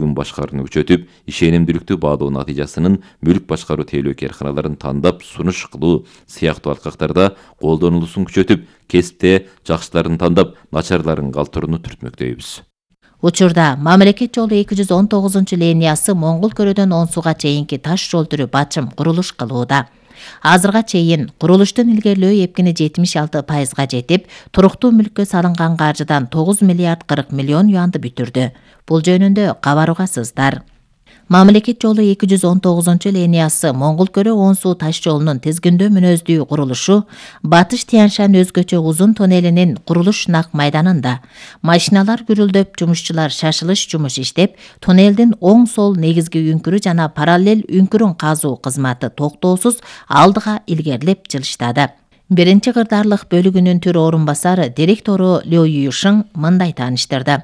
Күн башкарууну күчөтүп, ишенимдүүлүктү баалоо натыйжасынын мүлк башкаруу тейлөө керканаларын тандап сунуш кылуу сыяктуу алкактарда колдонулуусун күчөтүп, кесипте жакшыларын тандап, начарларын калтырууну түртмөктөйбүз. Учурда мамлекет жолу 219-линиясы Моңгол көрөдөн Онсуга чейинки таш жол түрү бачым курулуш кылууда. Азырга чейин курулуштун илгерилөө эпкини 76%га жетип, туруктуу мүлккө салынган каржыдан 9 миллиард 40 миллион юанды бүтүрдү. Бул жөнүндө кабар угасыздар. Мамлекет жолу 219-линиясы Моңгол көрө Онсу таш жолунун тизгиндөө мүнөздүү курулушу Батыш Тянь-Шань өзгөчө узун тоннелинин курулуш нак майданында. Машиналар гүрүлдөп, жумушчулар шашылыш жумуш иштеп, тоннелдин оң сол негизги үңкүрү жана параллель үңкүрүн казуу кызматы токтоосуз алдыга илгерилеп жылыштады. Биринчи кырдаарлык бөлүгүнүн түр орун басары директору Лё Юйшың мындай тааныштырды.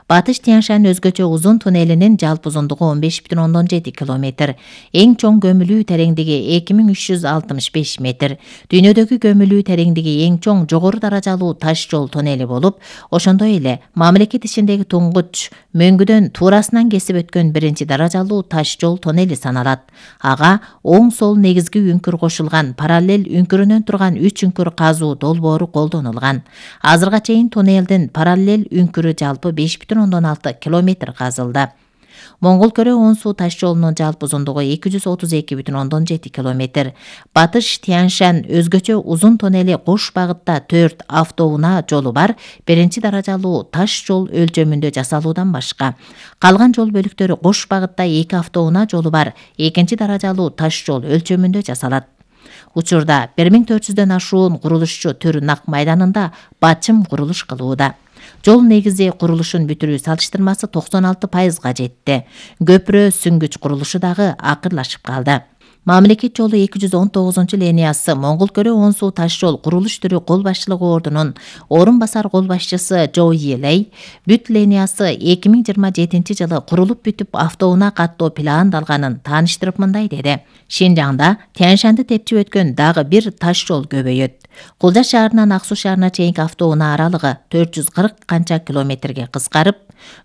Батыш Тянь-Шань өзгөчө узун туннелинин жалпы узундугу 15,7 километр, эң чоң көмүлүү тереңдиги 2365 метр, дүйнөдөгү көмүлүү тереңдиги эң чоң жогору даражалуу таш жол туннели болуп, ошондой эле мамлекет ичиндеги туңгуч мөңгүдөн туурасынан кесип өткөн биринчи даражалуу таш жол туннели саналат. Ага оң сол негизги үңкүр кошулган, параллель үңкүрүнөн турган 3 үңкүр казуу долбоору колдонулган. Азырга чейин туннелдин параллель үңкүрү жалпы 5,6 километр казылды. Моңгол көрө Онсу таш жолунун жалпы узундугу 232,7 километр. Батыш Тянь-Шань өзгөчө узун тоннели кош багытта 4 автоунаа жолу бар, биринчи даражалуу таш жол өлчөмүндө жасалуудан башка. Калган жол бөлүктөрү кош багытта 2 автоунаа жолу бар, экинчи даражалуу таш жол өлчөмүндө жасалат. Учурда 1400дөн ашуун курулушчу түр нак майданында бачым курулуш кылууда. Жол негизи курулушун бүтүрүү салыштырмасы 96%га жетти. Көпүрө сүңгүч курулушу дагы акырлашып калды. Мамлекет жолу 219-линиясы Моңгол көрө Онсу таш жол курулуш түрү кол башчылыгы ордунун орун басар кол башчысы Жо Йилей бүт линиясы 2027 жылы курулуп бүтүп автоунаа каттоо пландалганын тааныштырып мындай деди. Шинжаңда Тянь-Шаньды тепчип өткөн дагы бир таш жол көбөйөт. Кулжа шаарынан Ак Суу шаарына чейинки автоунаа аралыгы 440 канча километрге кыскарып,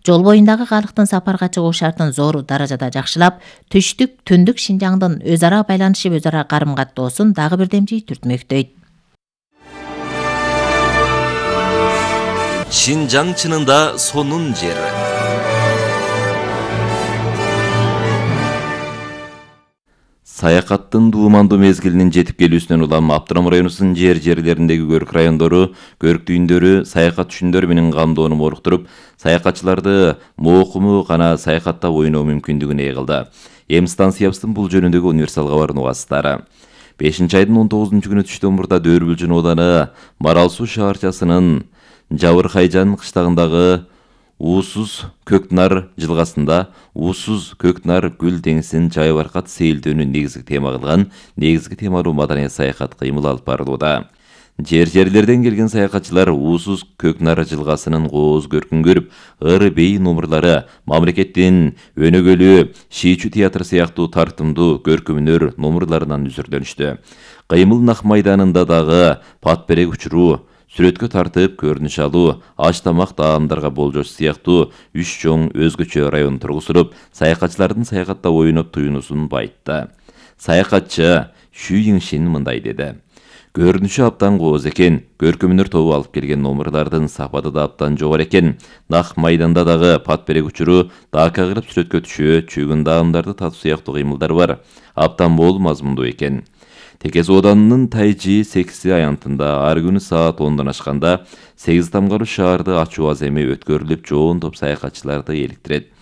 жол боюндагы калктын сапарга чыгуу шартын зор даражада жакшылап, түштүк, түндүк Шинжаңдын өз ара байланышып, өз ара карым-каттоосун дагы бирдемчи түртмөктөйт. Шинжаң чынында сонун жер. Саякаттын дуумандуу мезгилинин жетип келүүсүнөн улам Аптырам районунун жерлериндеги көрк райондору, көрк дүйүндөрү саякат түшүндөрү менен камдоону моруктуруп, саякатчыларды моокуму гана саякаттап ойноо мүмкүндүгүн ээ кылды. Эм станциябыздын бул жөнүндөгү универсал кабарын угасыздар. 5-айдын 19-күнү түштөн мурда Дөрбүлжүн ооданы Марал Суу шаарчасынын Жабыркайжан кыштагындагы Уусуз Көкнар жылгасында Уусуз Көкнар гүл деңизин жайбаркат сейилдөөнү негизги тема кылган негизги темалуу маданий саякат кыймыл алып барылууда. Жерлерден келген саякатчылар Уусуз Көкнар жылгасынын кооз көркүн көрүп, ыры бей номурлары, мамлекеттин өнөгөлүү, шийчү театр сыяктуу тартымдуу көркөмдөр номурларынан үзүрдөнүштү. Кыймыл нак майданында дагы пат берек учуруу, сүрөткө тартып көрүнүш алуу, аш тамак даамдарга болжош сыяктуу 3 чоң өзгөчө район тургузулуп, саякатчылардын саякатта ойноп туюнусун байытты. Саякатчы Шү Йиңшин мындай деди. Көрүнүшү абдан кооз экен, көркөмдөр тобу алып келген номурлардын сапаты да абдан жогору экен. Нак майданда дагы пат берек учуруу, дака кылып сүрөткө түшүү, чүйгүн даамдарды татуу сыяктуу кыймылдар бар. Абдан мол мазмундуу экен. Текес Оданынын Тайжи Секси аянтында ар күнү саат 10дон ашканда 8 тамгаруу шаарды ачуу аземи өткөрүлүп, жоон топ саякатчыларды эликтирет.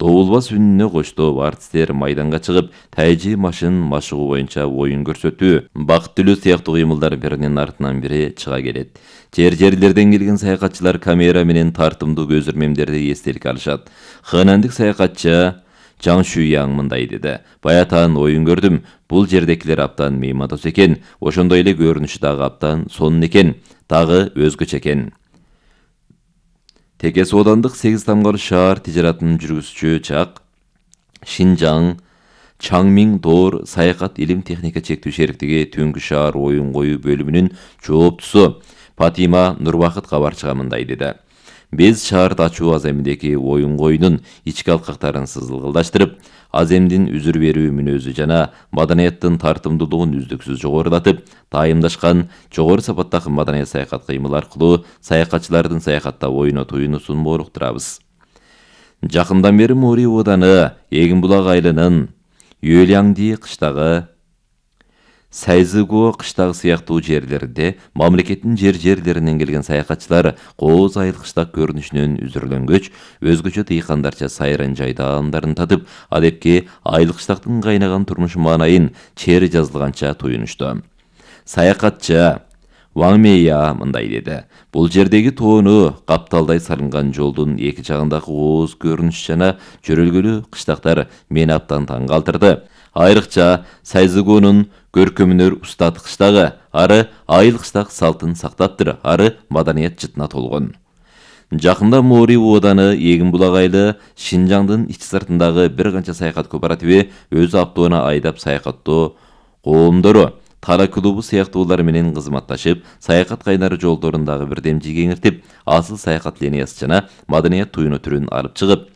Добулбас үнүнө коштоп артисттер майданга чыгып, Тайжи машин машыгуу боюнча оюн көрсөтүү, бакыт тилөө сыяктуу кыймылдар биринин артынан бири чыга келет. Жерлерден келген саякатчылар камера менен тартымдуу көзөрмемдерди эстеликке алышат. Ханандык саякатчы Жаң Шүйяң мындай деди. Баятан оюн көрдүм. Бул жердекилер абдан меймандос экен. Ошондой эле көрүнүшү дагы абдан сонун экен. Дагы өзгөчө экен. Текес Оодандык 8 тамгаруу шаар тижаратынын жүргүзүүчү Чак Шинжаң Чаңмиң Доор саякат илим техника чектүү шериктиги түнгү шаар оюн коюу бөлүмүнүн жооптусу Фатима Нурбакыт кабарчыга мындай деди. Биз шаарда ачуу аземдеги оюн коюнун ички алкактарын сызылгылдаштырып, аземдин үзүр берүү мүнөзү жана маданияттын тартымдуулугун үздүксүз жогорулатып, дайымдашкан жогору сапаттагы маданият саякат кыймыл аркылуу саякатчылардын саякатта ойно туюнусун боруктурабыз. Жакындан бери Моори ооданы Эгин булак айылынын Юэлянди кыштагы, Сайзыго кыштагы сыяктуу жерлеринде мамлекеттин жерлеринен келген саякатчылар кооз айыл кыштак көрүнүшүнөн үзүрүлөнгөч, өзгөчө дыйкандарча сайран жайдаандарын татып, адепке айыл кыштактын кайнаган турмуш маанайын чери жазылганча туюнушту. Саякатчы Ваң Мэйя мындай деди: бул жердеги тоону капталдай салынган жолдун эки жагындагы кооз көрүнүш жана жөрөлгөлүү кыштактар мени абдан таң калтырды. Айрыкча Сайзыгонун көркөмүнөр устат кыштагы, ары айыл кыштак салтын сактаптыр, ары маданият жытына толгон. Жакында Моори ооданы Эгин булак айылы Шинжаңдын ич сыртындагы бир канча саякат кооперативи өз автоуна айдап саякаттоо коомдору Тара клубу сыяктуулар менен кызматташып, саякат кайнары жолдорундагы бирдемчи кеңиртип, асыл саякат линиясы жана маданият туюну түрүн алып чыгып,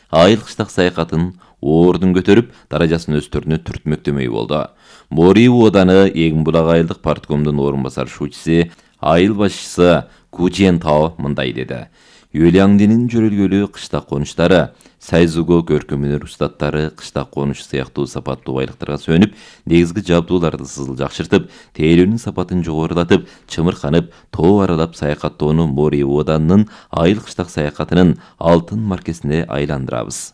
айыл кыштак саякатын ордун көтөрүп, даражасын өстөрүнө түртмөктөмөй болду. Моори ооданы Эгин булак айылдык парткомдун орун басар шуучусы, айыл башчысы Кучен Тао мындай деди: Юэляндинин жөрөлгөлүү кыштак конуштары, Сайзыго көркөмүнөр устаттары кыштак конуш сыяктуу сапаттуу байлыктарга сөнүп, негизги жабдууларды сызыл жакшыртып, тейлөөнүн сапатын жогорулатып, чымырканып, тоо аралап саякаттоону Моори ооданынын айыл кыштак саякатынын алтын маркесине айландырабыз.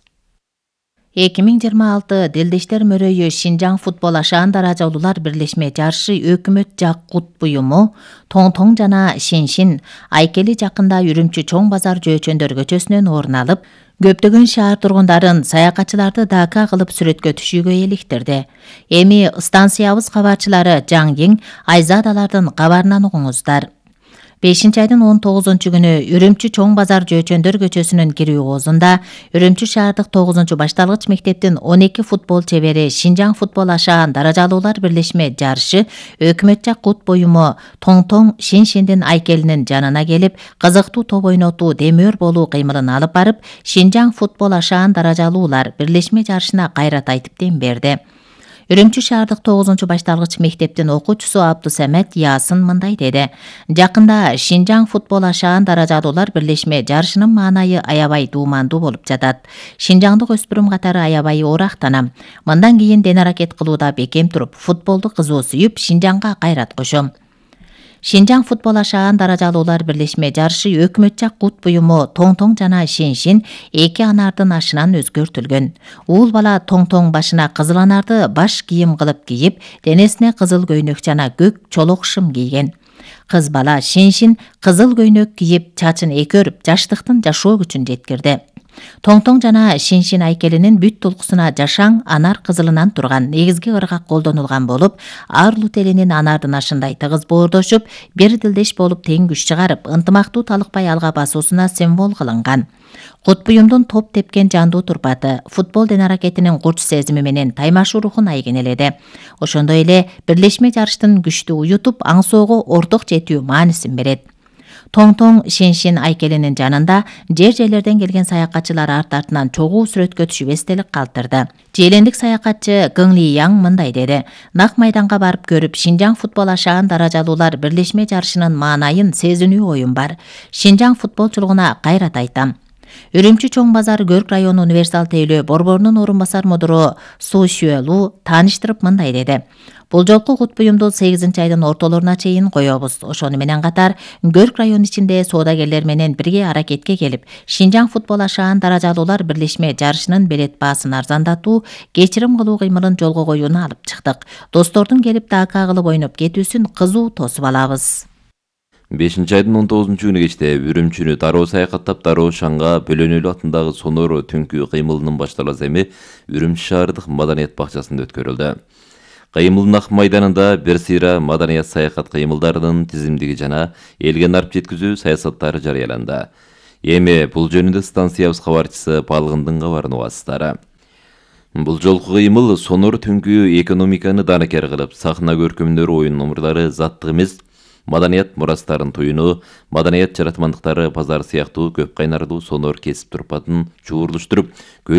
2026 Делдештер мөрөйү Шинжаң футбол ашаан даражалуулар бирлешме жарышы өкмөт жак кут буюму Тоң жана Шиншин Айкели жакында Үрүмчү Чоң базар жөөчөндөр көчөсүнөн орун алып, көптөгөн шаар тургундарын саякатчыларды дака кылып сүрөткө түшүүгө эликтирди. Эми станциябыз кабарчылары Жаңгиң, Айзадалардын кабарынан угуңуздар. 5-айдын 19-күнү Үрүмчү Чоң базар жөөчөндөр көчөсүнүн кирүү оозунда Үрүмчү шаардык 9-башталгыч мектептин 12 футбол чебери Шинжаң футбол ашаан даражалуулар бирлешме жарышы өкмөт жак кут буюму Тоң Шиншиндин Айкелинин жанына келип, кызыктуу топ ойнотуу, демөөр болуу кыймылын алып барып, Шинжаң футбол ашаан даражалуулар бирлешме жарышына кайрат айтып дем берди. Үрүмчү шаардык 9-башталгыч мектептин окуучусу Абдусамет Ясын мындай деди: Жакында Шинжаң футбол ашаан даражалуулар бирлешме жарышынын маанайы аябай дуумандуу болуп жатат. Шинжаңдык өспүрүм катары аябай оорактанам. Мындан кийин ден аракет кылууда бекем туруп, футболду кызуу сүйүп, Шинжаңга кайрат кошом. Шинжаң футбол ашаан даражалуулар бирлешме жарышы өкмөт жак кут буюму Тоң жана Шиншин эки анардын ашынан өзгөртүлгөн. Уул бала Тоң башына кызыл анарды баш кийим кылып кийип, денесине кызыл көйнөк жана көк чолок шым кийген. Кыз бала Шиншин кызыл көйнөк кийип, чачын экөрүп, жаштыктын жашоо күчүн жеткирди. Тоң жана Шиншин Айкелинин бүт толкусуна жашаң анар кызылынан турган негизги ыргак колдонулган болуп, ар лутелинин анардын ашындай тыгыз боордошуп, бир дилдеш болуп тең күч чыгарып, ынтымактуу талыкпай алга басуусуна символ кылынган. Кут буюмдун топ тепкен жандуу турпаты, футбол ден аракетинин курч сезими менен таймашуу рухун айгинеледи. Ошондой эле бирлешме жарыштын күчтү уютуп, аңсоого орток жетүү маанисин берет. Тоң Шиншин Айкелинин жанында жерлерден келген саякатчылар арт-артынан чогуу сүрөткө түшүп эстелик калтырды. Желендик саякатчы Гыңли Яң мындай деди: Нак майданга барып көрүп, Шинжаң футбол ашаан даражалуулар бирлешме жарышынын маанайын сезинүү оюм бар. Шинжаң футболчулугуна кайрат айтам. Үрүмчү Чоң базар Көрк району универсал тейлөө борборунун орун басар мудуру Су Шүэлу тааныштырып мындай деди: Бул жолку кут буюмду 8-айдын ортолоруна чейин коёбуз. Ошону менен катар Көрк району ичинде соодагерлер менен бирге аракетке келип, Шинжаң футбол ашаан даражалуулар бирлешме жарышынын билет баасын арзандатуу, кечирим кылуу кыймылын жолго коюуну алып чыктык. Достордун келип дака кылып ойноп кетүүсүн кызуу тосуп алабыз. 5-айдын 19-күнү кечте Үрүмчүнү дароо саякаттап, дароо Шаңга Бөлөнөлүү атындагы сонор түнкү кыймылынын башталуу эми Үрүмчү шаардык маданият бакчасында өткөрүлдү. Кыймылдын ак майданында бир сыйра маданият саякат кыймылдарынын тизимдиги жана элге нарп жеткизүү саясаттары жарыяланды. Эми бул жөнүндө станциябыз кабарчысы Балгындын кабарын угасыздар. Бул жолку кыймыл сонор түнкү экономиканы данакер кылып, сахна көркөмдөрү, оюн номурлары заттык эмес, маданият мурастарын туюну, маданият жаратмандыктары базары сыяктуу көп кайнарлуу сонор кесип турпатын чуурлуштуруп, көл